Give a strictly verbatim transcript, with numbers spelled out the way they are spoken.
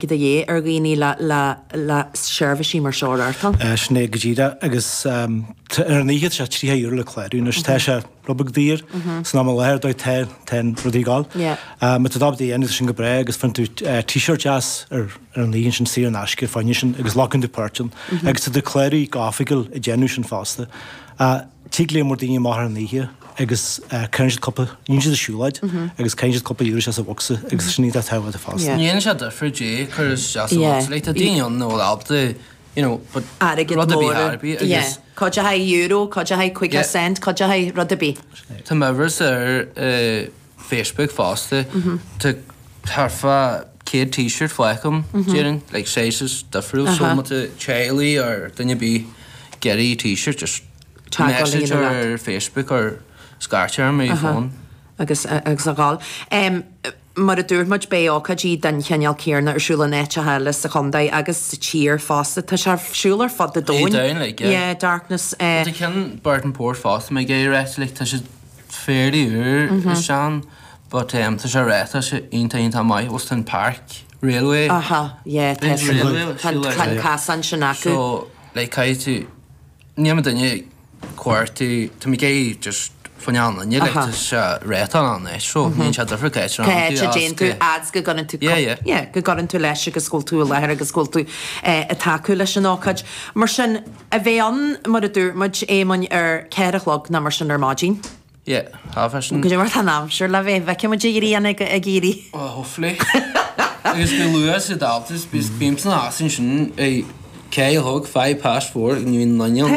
De dhíth ar dhaoine le le le seirbhísí mar seo a reáchtáil. Sin é go díreach agus ar an oíche tá sé tríocha euro le clárú anois tá sé rud beag daor san am i láthair dóigh tá tá an rudaí ag gabháil. Má tá tú ábalta a dhéanamh tá sin go breá agus faigheann tú t-shirt deas ar ar an oíche sin saor in aisce fá choinne sin agus glacann tú páirt ann agus tá tú cláraithe go hoifigiúil ag déanamh sin fosta. Tig líon mór daoine amach ar an oíche agus cuireann siad cúpla, dhéanann siad a siúlóid agus caitheann siad cúpla euro isteach sa bhocsa agus sin iontach tábhachtach fosta. Ní dhéanann sé difear dé cur isteach sa bhocsa, like tá daoine ann nach bhfuil ábalta, you know, but Airgead rud ar bith mór, ar bith yeah. agus. Cuid a haghaidh euro, cuid a haghaidh caoga cent, cuid a haghaidh rud ar bith. Tá m'uimhirse ar Facebook fosta, tá thart fá céad t-shirt faighte agam, déarfainn, like sizes difriúil, so má tá teaghlaigh or duine ar bith ag iarraidh t-shirt, just message ar Facebook or scairt orm ar phone. Agus agus a dhul. Mar a dúirt muid, beidh ócáidí den chineál céanna ar siúl in áiteacha eile sa chontae agus sa tír fosta. Tá sé ar siúl ar fud an domhain. An domhain, like, yeah. Yeah, Darkness. Tá ceann Burtonport fosta, mé ag iarraidh a rá, like, tá sé fairly úr is sean, but um, tá sé rá, tá sé iontach iontach maith, bhfuil an Park Railway. Aha, yeah, tá tá an casán sin acu. So, like, caithfidh tú, ní ma duine cuartú, tá mé ag iarraidh just fá choinne an duine, like, tá sé réatán ann é, so níonn sé difear cá háit a Cá háit a dtéann tú, fhad go gcuireann tú Yeah, yeah. yeah, go gcuireann tú leis agus go bhfuil tú i láthair agus go bhfuil tú ag tacú leis an ócáid. Mar sin, a bheith ann, mar a dúirt muid, Éamoinn, ar ceathair a chlog nó mar sin ar maidin. Yeah, half past Go dtí mar tá an aimsir le bheith, bhfeicfidh muid an ghrian ag ag éirí. Oh, hopefully. Agus go luath sa daltas, bím san áit ansin ag ceathair a chlog, five past four, ní bhíonn duine ann.